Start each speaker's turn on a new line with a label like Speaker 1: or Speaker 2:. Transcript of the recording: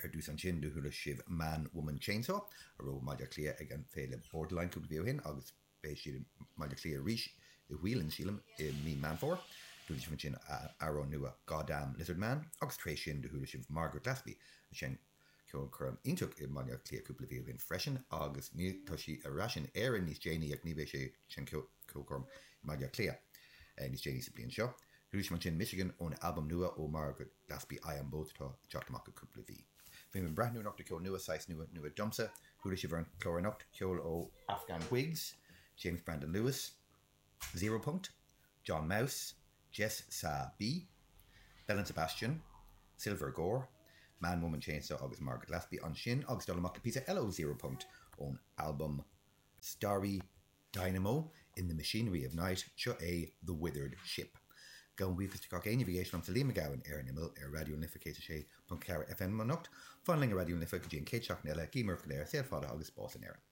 Speaker 1: Ar dtús ansin do chuala sibh Man Woman Chainsaw, a raibh i mBaile Átha Cliath ag an féile Borderline cúpla mhí ó shin agus beidh siad i mBaile Átha Cliath arís i Whelan's, sílim, i mí Meán Fómhair. Chuala sibh ansin a amhrán nua Goddamn Lizard Man agus tar éis sin do chuala sibh Margaret Glaspy a sheinn ceolchoirm iontach i mBaile Átha Cliath cúpla mhí ó shin freisin agus ní tá sí ar ais in Éirinn níos déanaí ach ní bheidh sí ag seinm ceolchoirm i mBaile Átha Cliath níos déanaí sa bhliain seo. Chuala sibh ansin Michigan ón albam nua ó Margaret Glaspy I Am Both atá ag teacht amach i gcúpla mhí. Bhí mé ag breathnú anocht ar cheol nua, saghas nua, nua domsa. Chuala sibh ar an chlár anocht, ceol ó Afghan Whigs, James Brandon Lewis, Zero Punkt, John Maus, Jess Sa B, Belle and Sebastian, Silver Gore, Man Woman Chainsaw agus Margaret Glaspy ansin agus dul amach le píosa eile ó Zero Punkt ón albam Starry Dynamo in the Machinery of Night, seo é The Withered Ship. Gabhaim buíochas de gach éinne a bhí ag éisteacht liomsa Liam Mac Gabhann ar an Imeall ar Raidió na Life 106.4 FM anocht. Fan linn ar Raidió na Life go dtí an chéad seachtain eile, guím oraibh go léir saol fada agus spás in Éirinn.